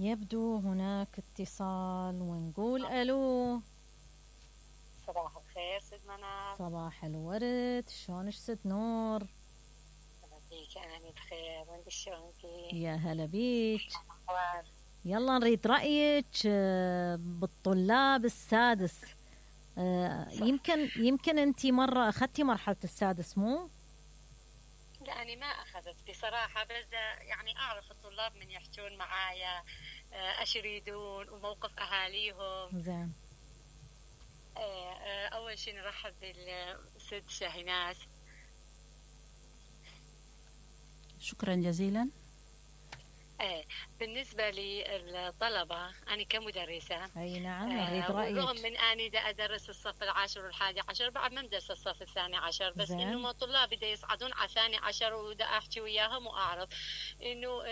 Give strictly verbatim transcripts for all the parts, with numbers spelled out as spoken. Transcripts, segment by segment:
يبدو هناك اتصال ونقول ألو. صباح الخير ست منى. صباح الورد، شلونك ست نور؟ بيك أنا بخير، وانت شلونكي؟ يا هلا بيك. أخبار؟ يلا نريد رأيك بالطلاب السادس. يمكن يمكن أنت مرة أخذتي مرحلة السادس مو؟ لا أنا ما أخذت بصراحة، بس يعني أعرف الطلاب من يحجون معايا ايش يريدون وموقف أهاليهم. زين. أول شيء نرحب بالست شاهيناز. شكرا جزيلا. ايه بالنسبة للطلبة أنا كمدرسة أي نعم أريد رأيك. رغم من أني دا أدرس الصف العاشر والحادي عشر، بعد ما مدرس الصف الثاني عشر، بس زين. إنه ما طلابي دا يصعدون على الثاني عشر ودا أحكي وياهم وأعرف إنه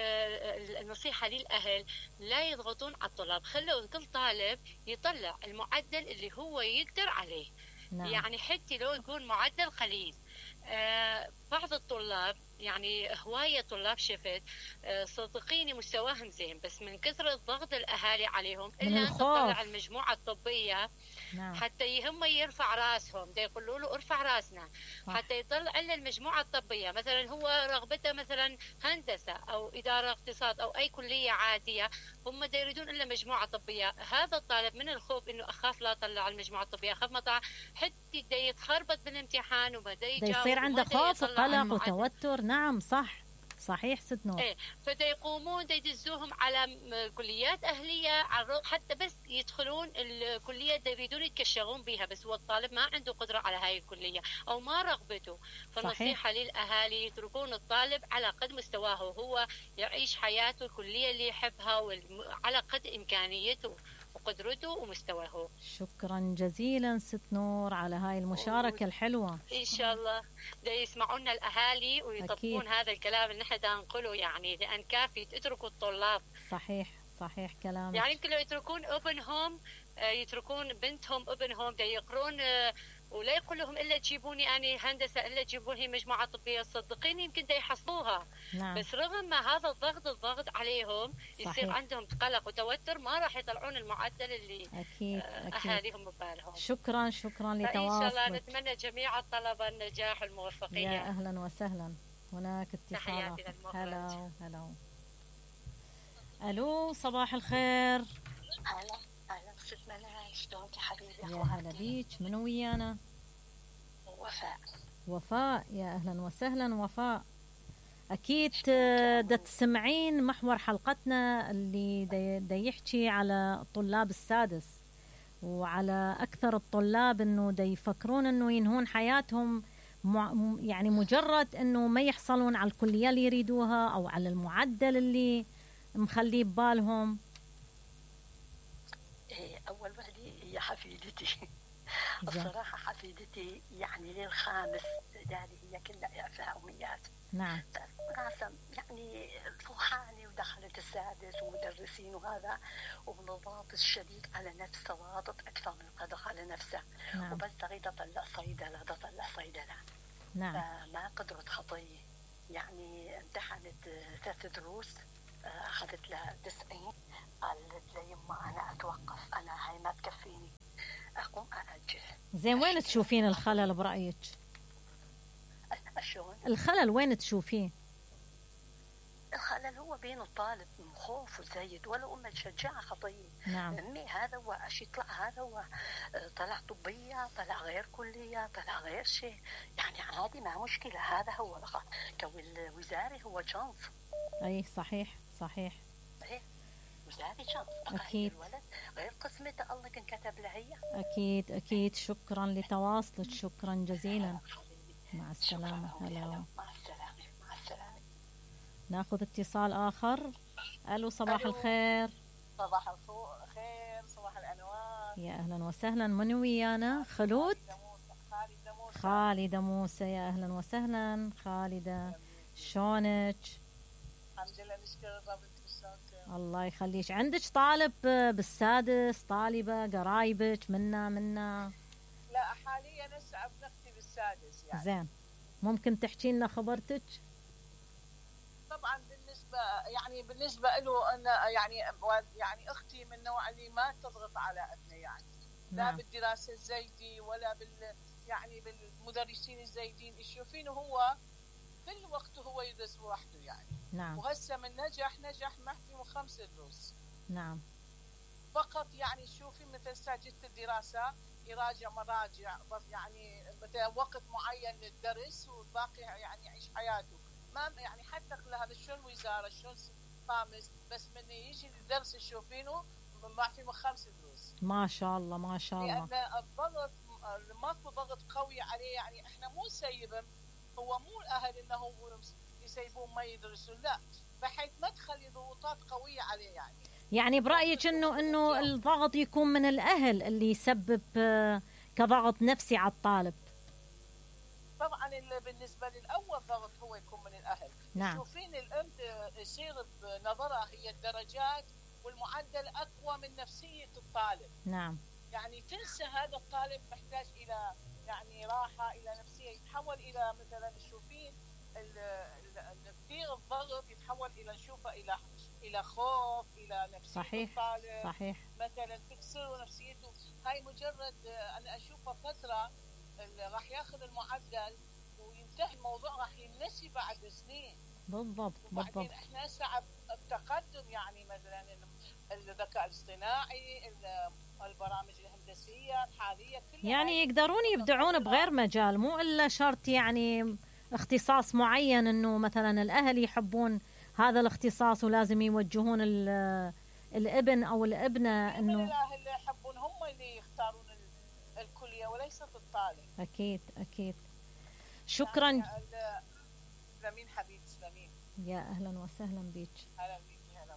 النصيحة للأهل لا يضغطون على الطلاب، خلوا كل طالب يطلع المعدل اللي هو يقدر عليه. نعم. يعني حتى لو يكون معدل قليل. آه بعض الطلاب يعني هواية طلاب شفت آه صدقيني مستواهم زين، بس من كثرة ضغط الأهالي عليهم إلا أن تطلع المجموعة الطبية. نعم. حتى هم يرفع راسهم، دا يقولوا له ارفع راسنا. صح. حتى يطلع لنا المجموعة الطبية، مثلا هو رغبته مثلا هندسة أو إدارة اقتصاد أو أي كلية عادية، هم دا يريدون إلا مجموعة طبية. هذا الطالب من الخوف إنه أخاف لا أطلع المجموعة الطبية، أخاف ما طلع حتى دا يتخربط بالامتحان وبدا يجاوب، يصير عنده خوف وقلق وتوتر. نعم صح صحيح ست نور. ايه فدا يقومون دا يدزوهم على كليات أهلية حتى بس يدخلون الكلية دا يريدون يتكشغون بها، بس هو الطالب ما عنده قدرة على هاي الكلية أو ما رغبته. فالنصيحة للأهالي يتركون الطالب على قد مستواه، هو يعيش حياته الكلية اللي يحبها وعلى قد إمكانيته وقدرته ومستواه. شكرا جزيلا ست نور على هاي المشاركة الحلوة. إن شاء الله دا يسمعونا الأهالي ويطبقون هذا الكلام اللي نحن دا نقوله، يعني لأن كافي تتركوا الطلاب. صحيح صحيح كلامك. يعني يمكن لو يتركون ابن هوم، يتركون بنتهم ابن هوم دا يقرون ولا يقول لهم إلا تجيبوني أنا هندسة، إلا تجيبوني مجموعة طبية، صدقيني يمكن دا يحصلوها. نعم. بس رغم ما هذا الضغط الضغط عليهم يصير صحيح. عندهم قلق وتوتر، ما راح يطلعون المعدل اللي أكيد أهاليهم ببالهم. شكرا شكرا لتواصلك. إن شاء الله نتمنى جميع الطلبة النجاح والموفقية. يا أهلا وسهلا. هناك اتصال. هلا هلا. ألو صباح الخير. هلا هلا ست منى، شلونك يا حبيبي؟ يا هلا بيك، منو ويانا؟ وفاء. وفاء يا أهلا وسهلا وفاء. أكيد دا تسمعين محور حلقتنا اللي دا يحكي على الطلاب السادس، وعلى أكثر الطلاب أنه دا يفكرون أنه ينهون حياتهم يعني مجرد أنه ما يحصلون على الكلية اللي يريدوها أو على المعدل اللي مخليه ببالهم. أول وحدة هي حفيدتي. الصراحة حفيدتي يعني للخامس إعدادي هي كلها إعفاء أميات. نعم. راسم يعني فوحاني ودخلت السادس ومدرسين وهذا، وبالضغط الشديد على نفسه، ضاغط أكثر من قدر على نفسه. نعم. وبس تريد أطلع صيدلة تطلع صيدلة. نعم. فما قدرت خطية، يعني امتحنت ثلاث دروس أخذت لها تسعين، قالت لي يما أنا أتوقف، أنا هاي ما تكفيني، أقوم أأجل. زين وين تشوفين الخلل برأيك؟ شلون؟ الخلل وين تشوفيه؟ الخلل هو بين الطالب من خوف وزايد، ولا أم تشجعه خطية. نعم. أمي هذا هو أش يطلع، هذا هو طلع طبية، طلع غير كلية، طلع غير شيء، يعني عادي ما مشكلة. هذا هو لغة كوزاري، هو شانس. أي صحيح صحيح. إيه وزاري شانس. أكيد. الولد غير قسمته الله كان كتب له هي. أكيد أكيد. شكرا لتواصلك، شكرا جزيلا. مع السلامة. هلا. مع السلامة. مع السلامة. ناخذ اتصال آخر. ألو صباح ألو. الخير. صباح الخير، صباح الأنوار. يا أهلا وسهلا. من ويانا؟ خلود. خالدة موسى. خالدة موسى يا أهلا وسهلا خالدة. شلونك؟ الحمد لله نشكر الرب. الله يخليك. عندك طالب بالسادس، طالبة قرايبك منا منا؟ لا حاليا هسه ابن اختي بالسادس يعني. زين ممكن تحكي لنا خبرتك؟ طبعا بالنسبة يعني بالنسبه له أن يعني يعني اختي من النوع اللي ما تضغط على ابنه، يعني لا نعم. بالدراسه الزايدة ولا بال يعني بالمدرسين الزايدين، يشوفينه هو كل وقت هو يدرس لوحده يعني. نعم. وهسه من نجح نجح محكي خمس دروس. نعم. فقط يعني شوفي مثل ساجدة الدراسة يراجع مراجع بس يعني مثلا وقت معين للدرس والباقي يعني يعيش حياته. ما يعني حتى هذا شلون وزارة شلون خامس، بس من يجي الدرس تشوفينه ما في خمس دروس. ما شاء الله ما شاء الله. لأن الضغط ماكو ضغط قوي عليه، يعني احنا مو نسيبهم، هو مو الاهل انه يسيبون ما يدرسون، لا، بحيث ما تخلي ضغوطات قوية عليه يعني. يعني برأيك انه انه الضغط يكون من الاهل اللي يسبب كضغط نفسي على الطالب؟ طبعا بالنسبه للاول ضغط هو يكون من الاهل. نعم. تشوفين الام يصير بنظرها هي الدرجات والمعدل اقوى من نفسيه الطالب. نعم. يعني تنسى هذا الطالب محتاج الى يعني راحه، الى نفسيه، يتحول الى مثلا تشوفين كثير الضغط يتحول الى نشوفه الى الى خوف، الى نفسيه صحيح. الطالب صحيح. مثلا تكسر نفسيته. هاي مجرد انا اشوفها فتره راح ياخذ المعدل وينتهي الموضوع، راح ينسي بعد سنين. بالضبط. وبعدين بالضبط. احنا هسه التقدم يعني مثلا الذكاء الاصطناعي، البرامج الهندسيه الحاليه كلها يعني يقدرون يبدعون بغير مجال، مو الا شرط يعني اختصاص معين، انه مثلا الاهل يحبون هذا الاختصاص ولازم يوجهون الابن او الابنه انه الاهل يحبون هم اللي يختارون الكليه وليست الطالب. اكيد اكيد. شكرا. يعني سلامين حبيبي سلامين. يا اهلا وسهلا بك. اهلا بك. هلا.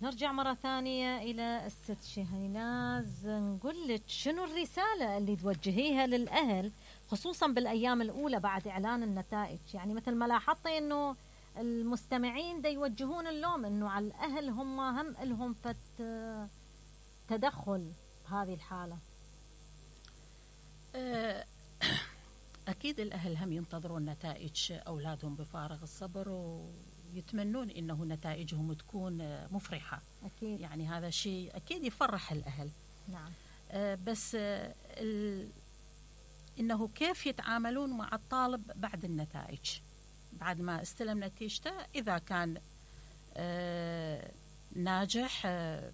نرجع مرة ثانية إلى الست شهيناز، نقول لك شنو الرسالة اللي توجهيها للأهل خصوصا بالأيام الأولى بعد إعلان النتائج؟ يعني مثل ما لاحظتي إنه المستمعين دا يوجهون اللوم إنه على الأهل، هم هم لهم فت تدخل بهذه الحالة. أكيد الأهل هم ينتظرون نتائج أولادهم بفارغ الصبر، ويتمنون إنه نتائجهم تكون مفرحة. أكيد. يعني هذا شيء أكيد يفرح الأهل. نعم. آه بس آه ال... إنه كيف يتعاملون مع الطالب بعد النتائج، بعد ما استلم نتيجته، إذا كان آه ناجح آه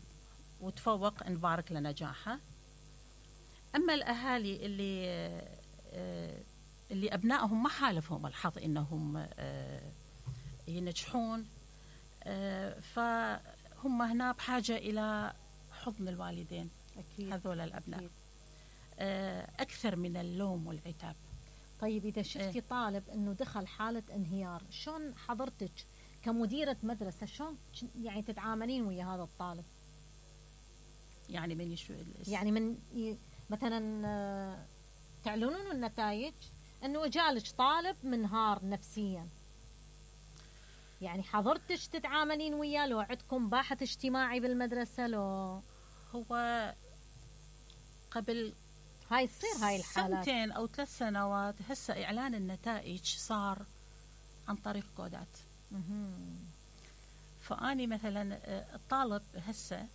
وتفوق نبارك لنجاحه. أما الأهالي اللي آه اللي أبنائهم ما حالفهم الحظ إنهم آه ينجحون، آه فهم هنا بحاجة إلى حضن الوالدين. أكيد. هذول الأبناء. أكيد. آه أكثر من اللوم والعتاب. طيب إذا شفتي آه. طالب إنه دخل حالة انهيار، شلون حضرتك كمديرة مدرسة شلون يعني تتعاملين ويا هذا الطالب؟ يعني من يشو يعني من ي... مثلا تعلنون النتائج انه جالك طالب منهار نفسيا، يعني حضرتك تتعاملين وياه؟ لو عندكم باحث اجتماعي بالمدرسة؟ لو هو قبل هاي تصير هاي الحالات سنتين او ثلاث سنوات، هسه اعلان النتائج صار عن طريق كودات. فاني مثلا الطالب هسه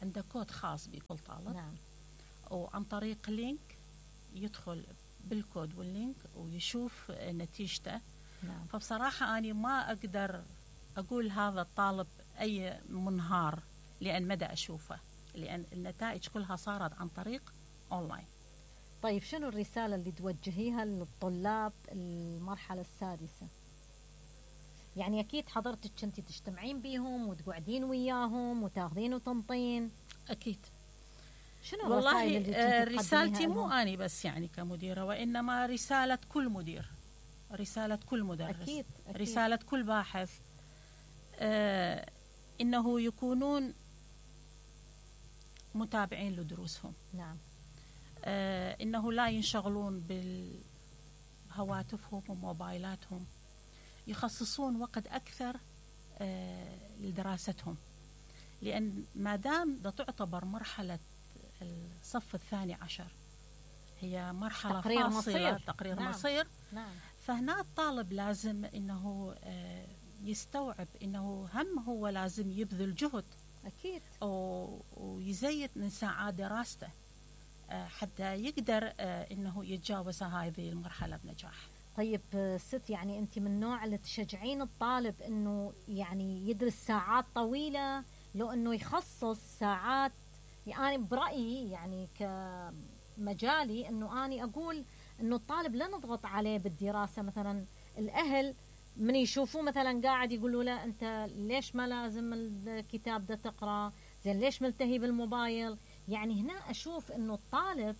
عنده كود خاص بكل طالب. نعم. وعن طريق لينك يدخل بالكود واللينك ويشوف نتيجته. نعم. فبصراحة أنا ما أقدر أقول هذا الطالب أي منهار، لأن مدى أشوفه، لأن النتائج كلها صارت عن طريق أونلاين. طيب شنو الرسالة اللي توجهيها للطلاب المرحلة السادسة؟ يعني أكيد حضرتك كنتي تجتمعين بيهم وتقعدين وياهم وتاخذين وتنطين. أكيد. شنو والله آه رسالتي مو أنا بس يعني كمديرة، وإنما رسالة كل مدير، رسالة كل مدرس. أكيد. أكيد. رسالة كل باحث، آه إنه يكونون متابعين لدروسهم. نعم. آه إنه لا ينشغلون بهواتفهم وموبايلاتهم، يخصصون وقت أكثر آه لدراستهم، لأن ما دام دا تعتبر مرحلة الصف الثاني عشر هي مرحلة تقرير فاصلة، مصير. تقرير نعم. مصير. نعم. فهنا الطالب لازم انه يستوعب انه هم هو لازم يبذل جهد اكيد ويزيد من ساعات دراسته حتى يقدر انه يتجاوز هذه المرحله بنجاح. طيب ست، يعني انت من النوع اللي تشجعين الطالب انه يعني يدرس ساعات طويله لو انه يخصص ساعات؟ يعني برايي يعني كمجالي انه اني اقول انه الطالب لا نضغط عليه بالدراسه. مثلا الاهل من يشوفوه مثلا قاعد يقولوا له انت ليش ما لازم الكتاب ده تقرا، زين ليش ملتهي بالموبايل؟ يعني هنا اشوف انه الطالب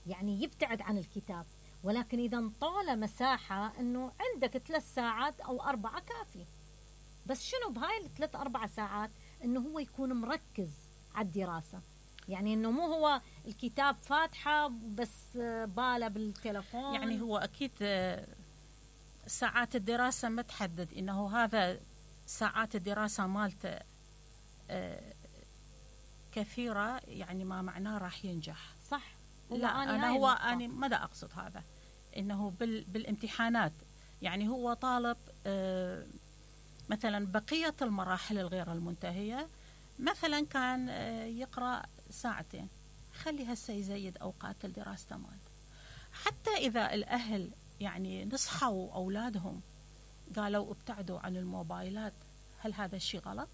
يعني يبتعد عن الكتاب، ولكن اذا انطوله مساحه انه عندك ثلاث ساعات او اربعه كافي. بس شنو بهاي الثلاث اربع ساعات انه هو يكون مركز على الدراسه، يعني انه مو هو الكتاب فاتحه بس باله بالتلفون. يعني هو اكيد ساعات الدراسه ما تحدد انه هذا ساعات الدراسه مالته كثيره يعني ما معناه راح ينجح. صح. لا أنا, أنا هو أنا ما دا أقصد هذا، إنه بال بالامتحانات يعني هو طالب آه مثلا بقية المراحل الغير المنتهية مثلا كان آه يقرأ ساعتين، خلي هسه يزيد أوقات الدراسة مالته. حتى إذا الأهل يعني نصحوا أولادهم قالوا ابتعدوا عن الموبايلات، هل هذا الشيء غلط؟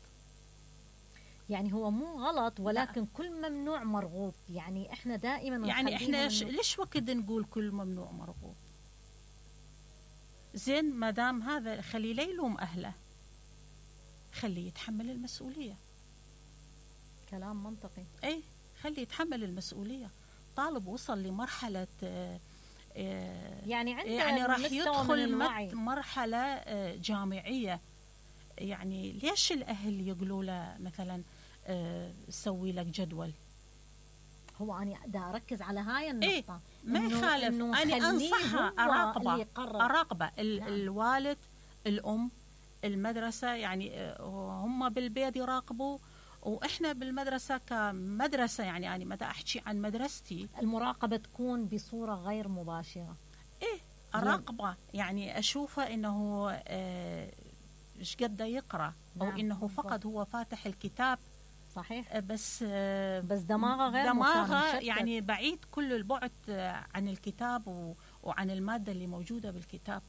يعني هو مو غلط، ولكن لا. كل ممنوع مرغوب. يعني احنا دائما يعني احنا ليش وقت نقول كل ممنوع مرغوب؟ زين ما دام هذا خليه لا يلوم اهله، خليه يتحمل المسؤوليه. كلام منطقي. اي خليه يتحمل المسؤوليه. طالب وصل لمرحله آه يعني عنده يعني راح يدخل مرحله آه جامعيه، يعني ليش الاهل يقولوا له مثلا أه سوي لك جدول؟ هو أنا دا أركز على هاي النقطة. إيه ما يخالف، أنا أنصحها أراقبه أراقبه ال نعم. الوالد الأم المدرسة يعني هم بالبيت يراقبوا، وإحنا بالمدرسة كمدرسة يعني أنا متى أحكي عن مدرستي المراقبة تكون بصورة غير مباشرة. إيه أراقبه يعني أشوفه إنه آه إيش قد يقرأ أو نعم. إنه فقط هو فاتح الكتاب. صحيح. بس بس دماغه غير دماغه يعني بعيد كل البعد عن الكتاب وعن المادة اللي موجودة بالكتاب.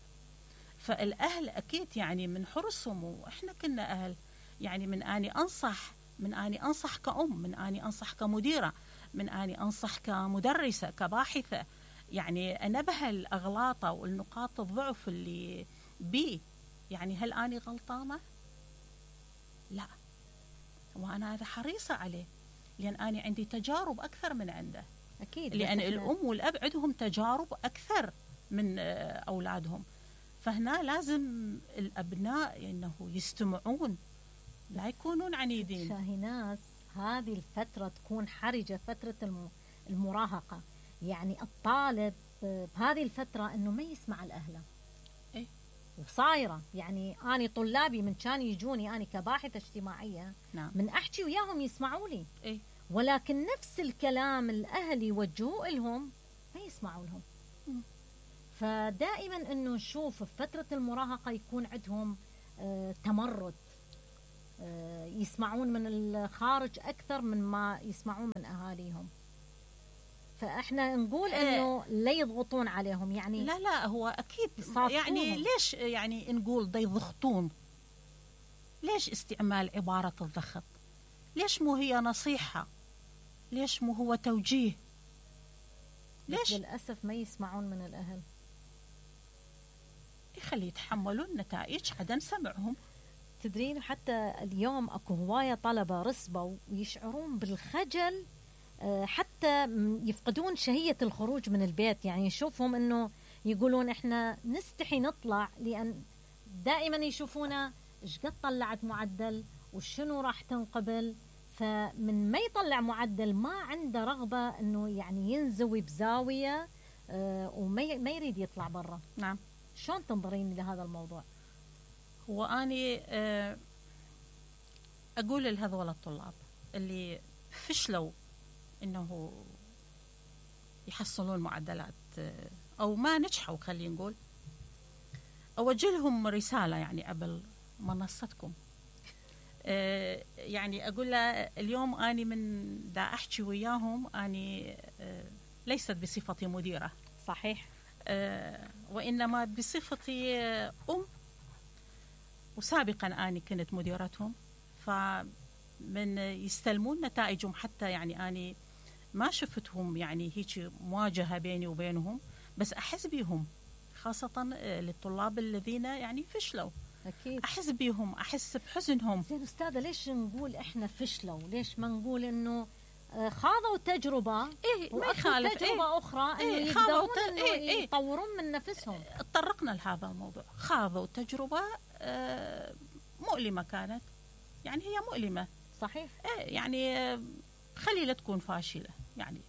فالأهل أكيد يعني من حرصهم، وإحنا كنا أهل يعني من أني أنصح من أني أنصح كأم، من أني أنصح كمديرة، من أني أنصح كمدرسة كباحثة، يعني أنبه الأغلاطة والنقاط الضعف اللي بي. يعني هل أني غلطانة؟ لا، وأنا هذا حريصة عليه لأن أنا عندي تجارب أكثر من عنده. أكيد. لأن الأم والأب عندهم تجارب أكثر من أولادهم، فهنا لازم الأبناء إنه يستمعون لا يكونون عنيدين. شاهيناز هذه الفترة تكون حرجة، فترة المراهقة، يعني الطالب بهذه الفترة إنه ما يسمع الأهل. إيه؟ وصايرة يعني أنا طلابي من كان يجوني أنا كباحثة اجتماعية نعم. من أحكي وياهم يسمعوا لي. إيه؟ ولكن نفس الكلام الأهل يوجهوه لهم ما يسمعوا لهم. م. فدائما إنه نشوف في فترة المراهقة يكون عندهم آه تمرد، آه يسمعون من الخارج أكثر من ما يسمعون من أهاليهم. فاحنا نقول انه لا يضغطون عليهم، يعني لا لا هو اكيد يعني ليش يعني نقول دا يضغطون؟ ليش استعمال عبارة الضغط؟ ليش مو هي نصيحة؟ ليش مو هو توجيه؟ ليش للأسف ما يسمعون من الأهل؟ يخلي يتحملون نتائج عدم سمعهم. تدرين حتى اليوم اكو هواية طلبة رسبوا ويشعرون بالخجل، حتى يفقدون شهية الخروج من البيت. يعني نشوفهم انه يقولون احنا نستحي نطلع لان دائما يشوفونا ايش قد طلعت معدل وشنو راح تنقبل، فمن ما يطلع معدل ما عنده رغبة انه يعني ينزوي بزاوية وما ما يريد يطلع برا. نعم. شلون تنظرين لهذا الموضوع؟ هو اني اقول لهذول الطلاب اللي فشلوا انه يحصلون معدلات او ما نجحوا، خلينا نقول أوجه لهم رسالة يعني قبل منصتكم. أه يعني أقول له اليوم أني من دا أحكي وياهم أني أه ليست بصفتي مديرة، صحيح، أه وإنما بصفتي أم، وسابقا أني كنت مديرتهم، فمن يستلمون نتائجهم حتى يعني أني ما شفتهم يعني هيك مواجهة بيني وبينهم، بس أحس بيهم خاصة للطلاب الذين يعني فشلوا. أكيد أحس بيهم، أحس بحزنهم. زين أستاذة، ليش نقول إحنا فشلوا؟ ليش ما نقول إنه خاضوا تجربة إيه ما يخالف تجربة إيه أخرى إنه إيه يقدرون ت... إنه إيه إيه يطورون من نفسهم؟ تطرقنا لهذا الموضوع، خاضوا تجربة آه مؤلمة كانت، يعني هي مؤلمة صحيح. إيه يعني آه خلي لا تكون فاشلة يعني،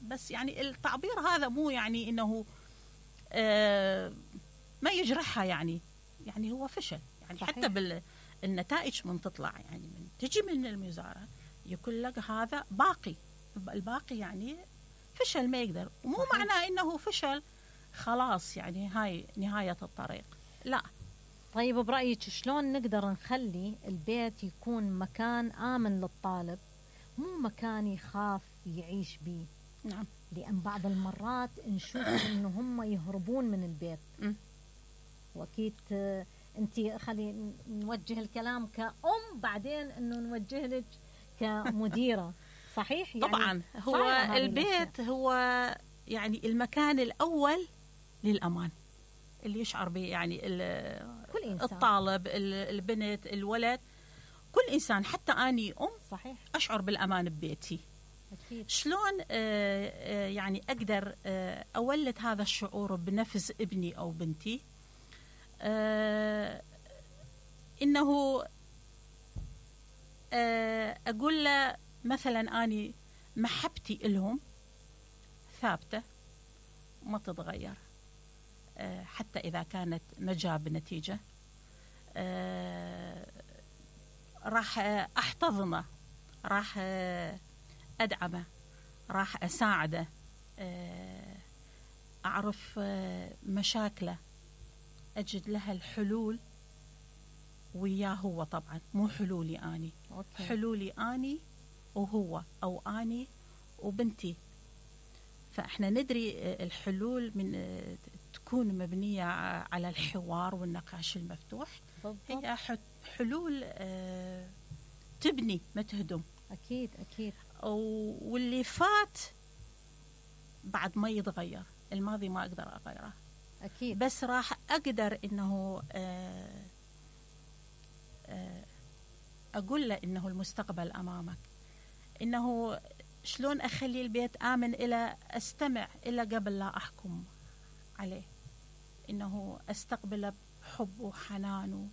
بس يعني التعبير هذا مو يعني إنه آه ما يجرحها يعني، يعني هو فشل يعني. صحيح. حتى بالنتائج من تطلع يعني من تجي من الوزارة يقول لك هذا باقي، الباقي يعني فشل ما يقدر، ومو صحيح. معناه إنه فشل خلاص يعني هاي نهاية الطريق، لا. طيب برأيك شلون نقدر نخلي البيت يكون مكان آمن للطالب، مو مكان يخاف يعيش به؟ نعم. لأن بعض المرات نشوف إنه هم يهربون من البيت. م. وأكيد أنت خلي نوجه الكلام كأم، بعدين إنه نوجه لك كمديرة. صحيح يعني. طبعا هو البيت هو يعني المكان الأول للأمان اللي يشعر به يعني كل إنسان. الطالب، البنت، الولد، كل إنسان. حتى أني أم صحيح أشعر بالأمان ببيتي. أكيد. شلون آه آه يعني أقدر آه أولد هذا الشعور بنفس ابني أو بنتي؟ آه إنه آه أقول له مثلا أني محبتي إلهم ثابتة ما تتغير، آه حتى إذا كانت ما جاب نتيجة آه راح أحتضنه، راح أدعمه، راح أساعده، أعرف مشاكله، أجد لها الحلول وياه هو، طبعا مو حلولي أني. أوكي. حلولي أني وهو، أو أني وبنتي. فإحنا ندري الحلول من تكون مبنية على الحوار والنقاش المفتوح. بالضبط. هي حلول تبني ما تهدم. أكيد أكيد. واللي فات بعد ما يتغير، الماضي ما أقدر أغيره أكيد، بس راح أقدر إنه أقول له إنه المستقبل أمامك، إنه شلون أخلي البيت آمن، إلى أستمع إلى قبل لا أحكم عليه، إنه أستقبله بحب وحنان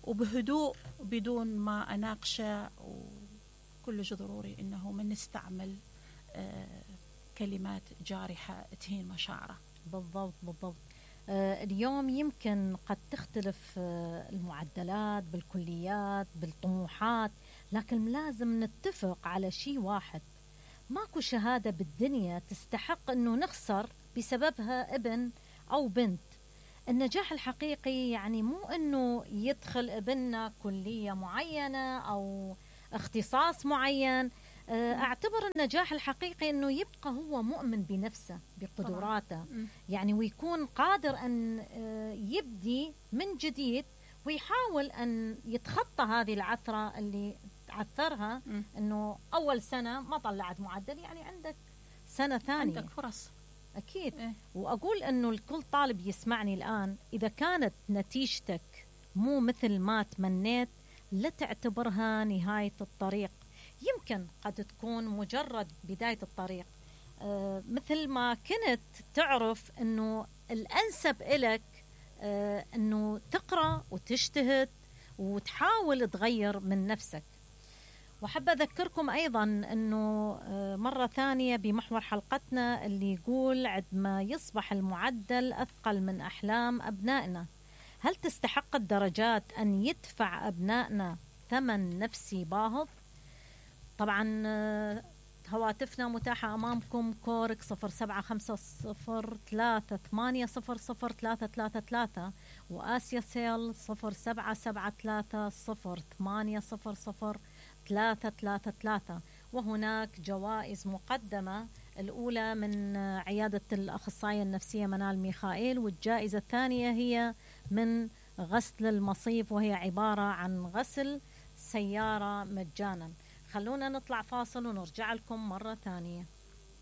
وبهدوء بدون ما أناقشه. وكلش ضروري إنه من نستعمل آه كلمات جارحة تهين مشاعره. بالضبط بالضبط. آه اليوم يمكن قد تختلف آه المعدلات بالكليات بالطموحات، لكن لازم نتفق على شيء واحد: ماكو شهادة بالدنيا تستحق إنه نخسر بسببها ابن أو بنت. النجاح الحقيقي يعني مو إنه يدخل ابننا كلية معينة أو اختصاص معين. أعتبر النجاح الحقيقي إنه يبقى هو مؤمن بنفسه بقدراته، يعني ويكون قادر أن يبدي من جديد ويحاول أن يتخطى هذه العثرة اللي عثرها، إنه أول سنة ما طلعت معدل، يعني عندك سنة ثانية، عندك فرص. أكيد. إيه؟ وأقول أنه الكل طالب يسمعني الآن، إذا كانت نتيجتك مو مثل ما تمنيت لا تعتبرها نهاية الطريق، يمكن قد تكون مجرد بداية الطريق. آه مثل ما كنت تعرف أنه الأنسب إلك آه أنه تقرأ وتجتهد وتحاول تغير من نفسك. وحب أذكركم أيضا أنه مرة ثانية بمحور حلقتنا اللي يقول: عندما يصبح المعدل أثقل من أحلام أبنائنا، هل تستحق الدرجات أن يدفع أبنائنا ثمن نفسي باهظ؟ طبعا هواتفنا متاحة أمامكم: كورك صفر سبعة خمسة صفر ثلاثة ثمانية صفر صفر ثلاثة ثلاثة ثلاثة، وآسيا سيل صفر سبعة سبعة ثلاثة صفر ثمانية صفر صفر ثلاثة ثلاثة ثلاثة. وهناك جوائز مقدمة، الأولى من عيادة الأخصائية النفسية منال ميخائيل، والجائزة الثانية هي من غسل المصيف، وهي عبارة عن غسل سيارة مجانا. خلونا نطلع فاصل ونرجع لكم مرة ثانية.